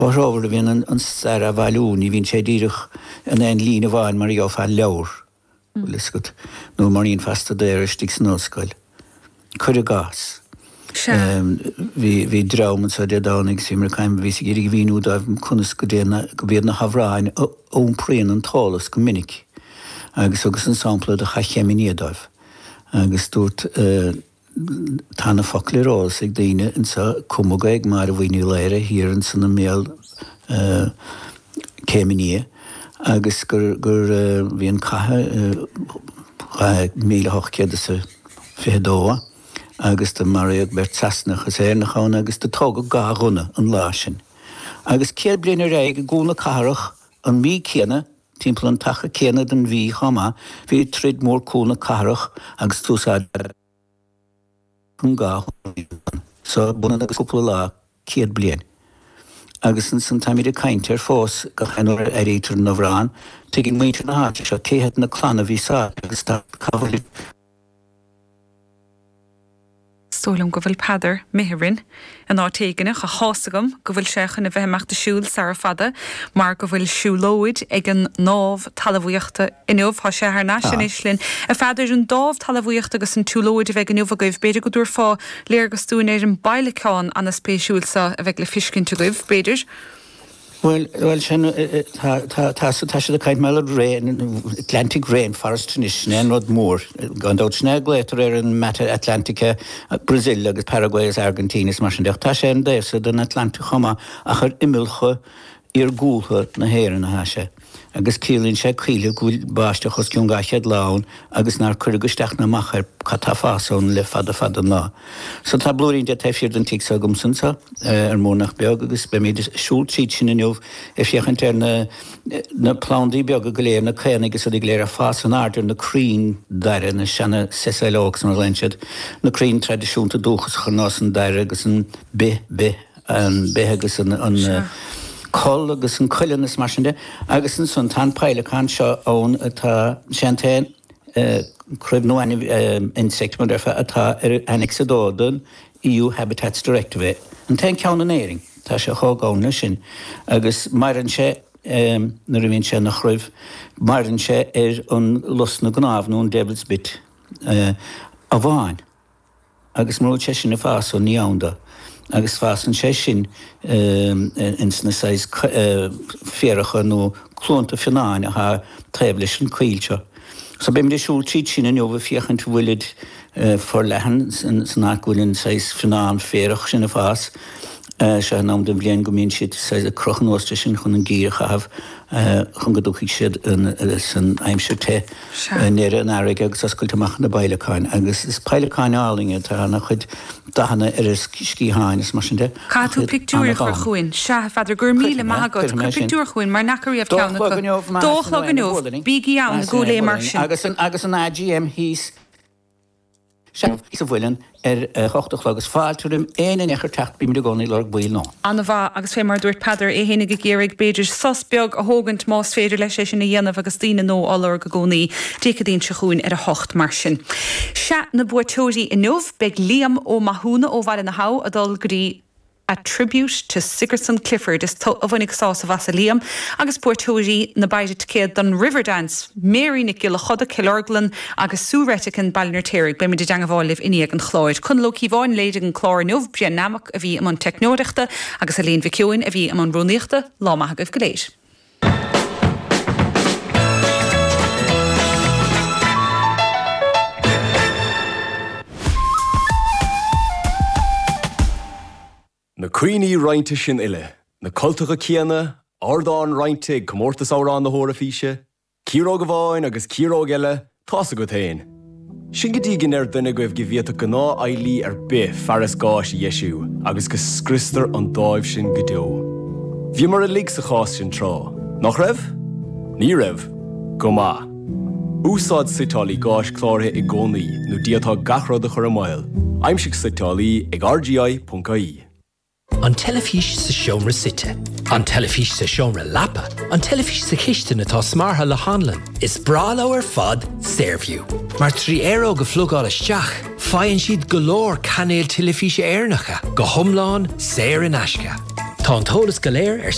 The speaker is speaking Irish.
Comhthreomhar a bhíonn an stair á bhailiú, ní bhíonn sé díreach in aon líne amháin mar a gheofá i leabhar, bhfuil fhios agat, nó mar a dhéanfá staidéar istigh san ollscoil. Cuir i gcás, bhí, bhí dream anseo Dé Domhnaigh agus bhíomar ag caint, bhíos ag iarraidh a mhíniú dóibh conas go dtéann, go mb'iad na hamhráin a iompraíonn an t-eolas go minic agus thugas an sampla de Chath Chéim Fhia dóibh agus dúrt, Tá na focail ar eolas ag daoine anseo, cumadh é ag Máire Bhuí Ní Laoire thiar ansan i mbéal Céim an Fhia agus gur gur bhí an cath i 1822 agus do maraíodh beirt Sasanach is Éireannach ann agus do tógadh dhá ghunna an lá sin. Agus 100 bliain ar aghaidh i gCúl na Cathrach an mhí céanna Timpeall an taca céanna den mhí chomh maith bhí troid mór Cúl na Cathrach agus d'úsáideadh an dhá ghunna so b'ionann agus cúpla lá 100 bliain. Agus ansan táimid ag caint air fós gach aon uair a airítear an amhrán, tuigeann muintir na háite seo cé hiad na clanna a bhí sáite agus tá cá bhfuil Is dóigh liom go bhfuil Peadar imithe orainn in áit éigin ach tá's agam go bhfuil sé chun a bheith ag imeacht ag siúl sara fada mar go bhfuil siúlóid ag an nDámh Talmhaíochta inniu. Tá sé thar n-ais anois linn. A Pheadair, an Dámh Talmhaíochta agus an tsiúlóid a bheidh inniu agaibh, b'fhéidir go dtabharfá léargas dúinn ar an bpeidhleacán ana-spéisiúil seo a bheidh le fiscint agaibh, b'fhéidir? Bhuel, bhuel, sin, tá, tá, tá, tá siad ag caint mar rain, Atlantic Rainforest anois, sin é an rud mór. Gan dabht sin é a glaotar ar an Mata Atlántica, Brazil agus Paraguay agus Argentina is mar sin de. Ach tá sé ar an dtaobh so den Atlantach chomh maith ach ar imeallcha iargúltha na hÉireann atá sé. Agus ciallaíonn sé coillidh go bhfuil báisteach os cionn 200 lá ann agus nár cuireadh isteach ná amach air cad tá fás ann le fada fada an lá. So tá blúirín de taobh thiar den tigh seo agamsa anseo ar mór nach beag agus beimid ag siúl tríd sin inniu ag féachaint ar na na plandaí beaga go léir, na caonaigh is rudaí go léir ag fás in airde ar na crainn daire, na seana sessile oaks mar a ghlaonn siad, na crainn traidisiúnta dúchasacha ar nós an dair agus an bith, bith. an beith agus an coll agus an cuileann is mar sin de. Agus ansan tá an peidhleacán seo ann atá, sé an t-aon cruimh nó ainmhí, insect mar déarfá, atá ar Annex 2 den EU Habitats Directive é. An t-aon ceann in Éirinn. Tá sé chomh gann leis sin. Agus maireann sé, nuair a bhíonn sé ina chruimh, maireann sé ar an lus na gcnámh nó an devil's bit amháin. Agus mura bhfuil sé sin ag fás ann ní ann dó. Agus fásann sé sin ins na saghas féaracha nó cluanta fionnáin athá taobh leis an coill seo. So beimid ag siúl tríd sin inniu ag féachaint an bhfuilid forleathan san áit go bhfuil an saghas fionnán féarach sin ag fás. Seo an am den bhliain go mbíonn siad saghas ag crochadh anuas de sin chun an geimhreadh a chaitheamh chun go dtiocfaidh siad san aimsir te. i ndeireadh an earraigh agus oscailt amach na bpeidhleacáin agus is peidhleacáin álainn iad, tá ana-chuid dathanna ar a sciatháin is mar sin de. Caithfidh tú pictiúir a chur chugainn. Sea, a Pheadair, go raibh míle maith agat. Cuir pictiúir chugainn mar n'fheaca riamh ceann acu. Dó a chlog inniu, bígí ann i gCúil Aodha mar sin. Agus an AGM thíos. Sea, sa Mhuileann ar a hocht a chlog is fáilte roimh aon duine a teacht, bímid i gcónaí ag lorg baill nua. An-mhaith, agus fé mar a dúirt Peadar é fhéinig ag iarraidh, b'fhéidir, sos beag a thógaint más féidir leis é sin a dhéanamh agus daoine nua á lorg i gcónaí. Dé Céadaoin seo chugainn ar a hocht mar sin. Sea, na buaiteoirí inniu, beidh Liam Ó Mathúna ó Bhaile na hAbha ag dul go dtí. A Tribute to Sigerson Clifford, is tú a bhainfidh sásamh as a Liam, agus buaiteoirí na bpéire ticéad don Riverdance, Mary Nic Giolla Choda, Cill Orglan, agus Sue Retican, Baile an Fheirtéaraigh. Beimid i dteangabháil libh i ndiaidh an chláir. Conall Ó Cíobháin a léirigh an clár inniu, Brian Nammock a bhí i mbun teicneoireachta agus Elaine Mhic Eoin a bhí i mbun rúnaíochta. Lá maith agaibh go léir. Na cuimhní roinnte sin uile, na cultacha céanna, ardán roinnte ag Comórtas Amhrán na hEoraifíse, Ciaróg amháin agus ciaróg eile, tá's agat féin. Sin go dtí go ndeir duine agaibh go bhféadfadh gnáthfheighlí ar bith fearas gáis a dheisiú agus go scriostar an dáimh sin go deo. Bhíomar uilig sa chás sin tráth, nach raibh? Ní raibh? Go maith. Úsáid suiteálaí gáis cláraithe i gcónaí nó d'fhéadfá gach rud a chur i mbaol. Aimsigh suiteálaí ag rgi.ie. An teilifís sa seomra suite. An teilifís sa seomra leapa. An teilifís sa chistin atá smeartha le hanlann. Is breá leo ar fad Saorview. Mar 3 aeróg a phlugáil isteach, faigheann siad go leor cainéil teilifíse Éireannacha, go hiomlán saor in aisce. Tá an t-eolas go léir ar.